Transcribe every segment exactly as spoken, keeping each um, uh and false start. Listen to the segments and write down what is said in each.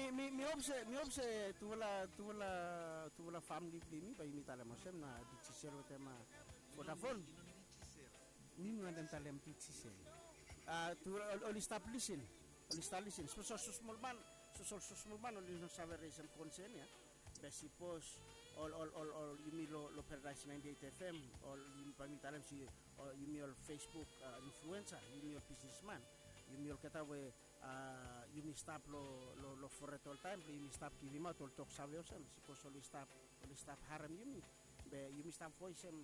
Mi, mi, mi hop se, mi hop se tufala, tufala, tufala famili blong yumi bae yumi talem olsem na Digicel wetem, a, Vodafone. Mi, mi wantem talem Digicel. A, tufala oli, oli stap lisin. Oli stap lisin. Sapos ol smosmol man, sapos ol smosmol man oli no save resem konsen ya. Be sapos ol, ol, ol, ol yumi lo, lo Paradise ninety-eight F M, ol yumi, bae mi talem se, ol yumi ol Facebook, a, influensa, yumi ol bisnesman, yumi olgeta we, a, yumi stap lo, lo, lo foret oltaem blong yumi stap givimaot ol toksave olsem, sapos oli stap, oli stap harem yumi, be yumi stap voesem,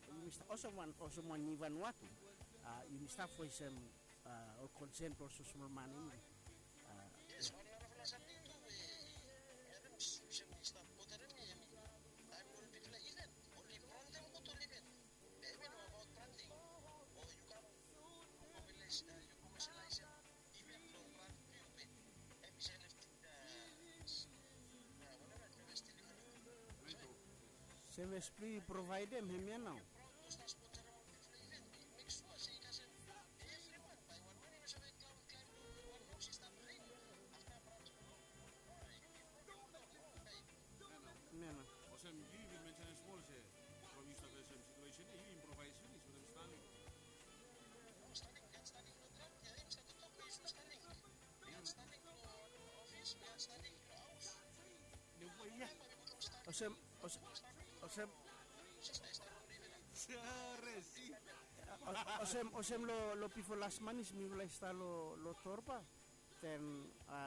yumi stap olsem wan, olsem wan Nivanua tu. A, yumi stap voesem, a, ol konsen blong ol smosmol man yumi. A, yes, wan narafala samting tu we mi harem olsem i stap boderem mi, hemi taem ol bigfala iven oli brantem gud ol iven. Be hemi no abaot brantem. O yu kam, yu komeselais, yu komeselaisim iven blong brand blong yu be hemi save lef, a, whatever, hemi save lef. Sevis blong yu provaedem hemia nao. Mena. Olsem yu bin mensenem smol se from yu stap olsem situesen ya yu improvaes finis wetem Starlink. Olsem, olsem, olsem, olsem lo bifo las manis mifala i stap lo, lo Torba. Then, a,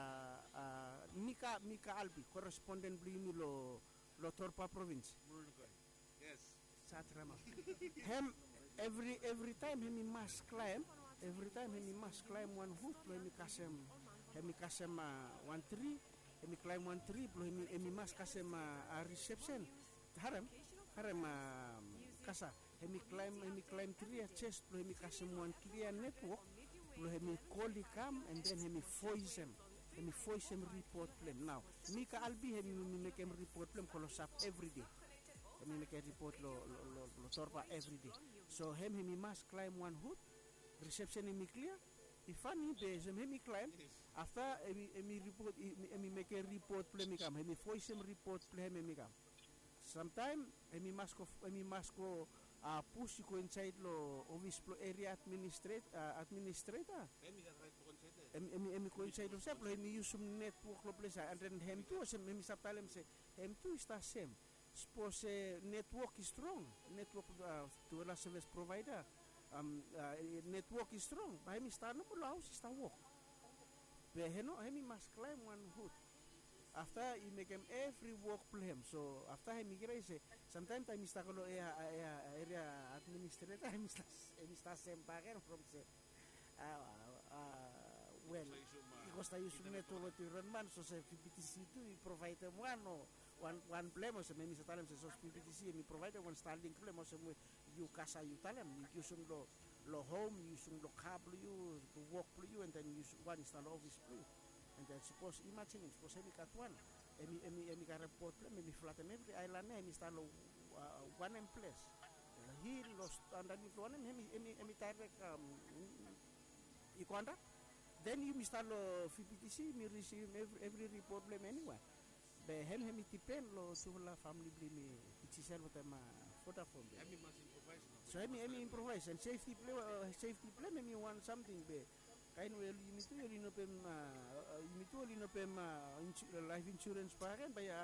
a, Mika, Mika Albi, koresponden blong yumi lo, lo Torba provins. Hem evri, evritaem hem i mas klaem, evritaem hem i mas klaem wan hut blong hem i kasem, hem i kasem, a, wan tri, hem i klaem wan tri blong hem i, hem i mas kasem, a, a, risepsen. Harem, harem, a, kasa, hem i klaem, hem i klaem tri ya jes blong hem i kasem wan klia netwok blong hem i kol i kam, and then hem i voesem, hem i voesem ripot blong hem. Nao Mika Albi hem i mekem ripot blong hem klosap evride. Hem i mekem ripot lo, lo, lo, lo Torba evride. So hem, hem i mas klaem wan hut, risepsen hem i klia. I fani be olsem hem i klaem. Afta hem i, hem i ripot, hem i mekem ripot blong hem i kam, hem i voesem ripot blong hem, hem i kam. Samtaem hem i mas go, hem i mas go, a, pus i go insaed lo ofis blo eria administreta. Hem i go insaed olsem blo hem i yusum netwok lo ples ya, and then hem tu olsem hem i stap talem se hem tu i stap sem. Sapos se netwok i strong, netwok, a, tufala sevis provaeda, am, a, netwok i strong, bae hem i stap nomo lo haos i stap wok. Be hem no, hem i mas klaem wan hut. Afta i mekem evri wok blo hem. So afta hem i krai se samtaem taem i stap go lo eria, eria administreta, hem i stap, hem i stap sem bakegen from se, a, a, wel, i go stap yusum netwok wetem ol ran man, so se P P T C tu i provaedem wan o wan, wan blo hem, olsem hem i stap talem se sapos P P T C hem i provaedem wan Starlink blo hem, olsem we yu kasa yu talem, yu yusum lo, lo hom, yu yusum lo ka blo yu, lo wok blo yu, and then yu yusum wan i stap lo ofis blo yu. And then sapos, imajinem, sapos hem i gat wan, hem i, hem i, hem i karem bod blo hem, hem i flatem evri aelan ya, hem i stap lo, a, wanem ples. Lo hil, lo andanit lo wanem, hem i, hem i, hem i daerek, am, i go antap. Then yumi stap lo P P T C, yumi risivim evri, evri ripot blo hem eniwe. Be hem, hem i dipen lo tufala famili blo yumi, Digicel wetem, a, Vodafone be. So hem i, hem i improvaes, and sefti blo, a, sefti blo hem, hem i wan samting be kaen we oli, yumi tu oli no pem, a, a, yumi tu oli no pem, a, insu-, laef insurens bakegen bae, a,